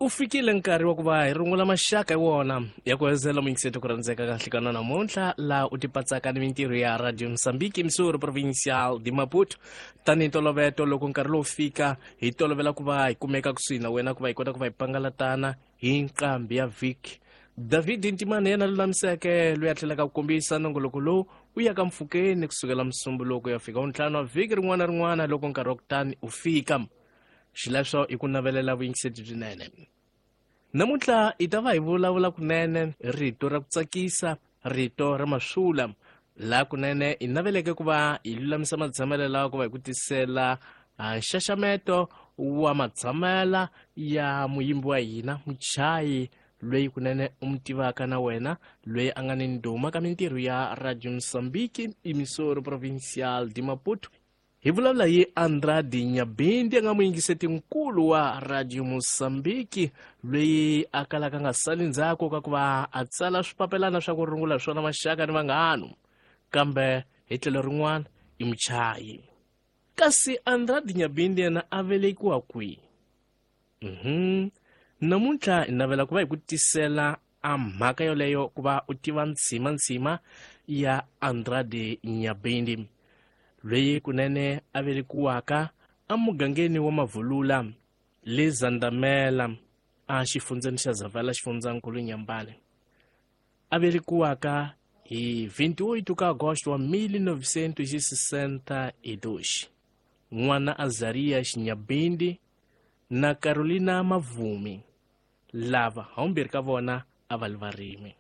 U fikile nkarhi wa ku va hi rungula maxaka hi wona ya ku hezela muyingiseti ku rhandzeka ka nhlikana namuntlha, laha u tipatsaka ni mintirho ya Radio Mozambique, Missouri Provincial de Maputo. Tanihi ntoloveto, loko nkarhi lowu fika, hi tolovela ku va hi kumeka kusuhi na wena ku va hi kota ku va hi pangalatana hi nqambi ya vhiki. David Ntimane yena lulamiseke, loyi a tlhelaka ku kombisa nongoloko lowu u ya ka mpfhukeni kusukela Musumbuluko ya fika wuntlhanu wa vhiki rin'wana na rin'wana loko nkarhi wa kutani u fika. Xileswo i ku navelela vuyingiseti byinene. Namuntlha hi ta va hi vulavula kunene rito ra ku tsakisa, rito ra maswula, laha kunene hi naveleke ku va hi lulamisa matshamelo lawa ku va hi ku tisela nxaxameto wa matshamela ya muyimbi wa hina, muchayi loyi kunene u mi tivaka na wena, loyi a nga ni ndhuma ka mintirho ya Radio Mozambique, Emissora Provincial de Maputo. Hi vulavula hi Andrade Nyabindi, a nga muyingiseti nkulu wa Radio Mozambique, loyi a kalaka a nga sali ndzhaku ka ku va a tsala swipapelana swa ku rungula swona maxaka ni vanghanu, kambe hi tlhelo rin'wana i muchayi. Kasi Andrade Nyabindi yena a velekiwa kwihi? Namuntlha hi navela ku va hi ku tisela a mhaka yoleyo ku va u tiva ntshima ya Andrade Nyabindi, loyi kunene a velekiwaka emugangeni wa Mavulula le Zandamela, a xifundzeni xa Zavala, xifundzankulu Nyambane. A velekiwaka hi 28 ka Agosto wa 1962, n'wana Azaria Xinyabindi na Carolina Mavumi, lava haumbirhi ka vona a va li varimi.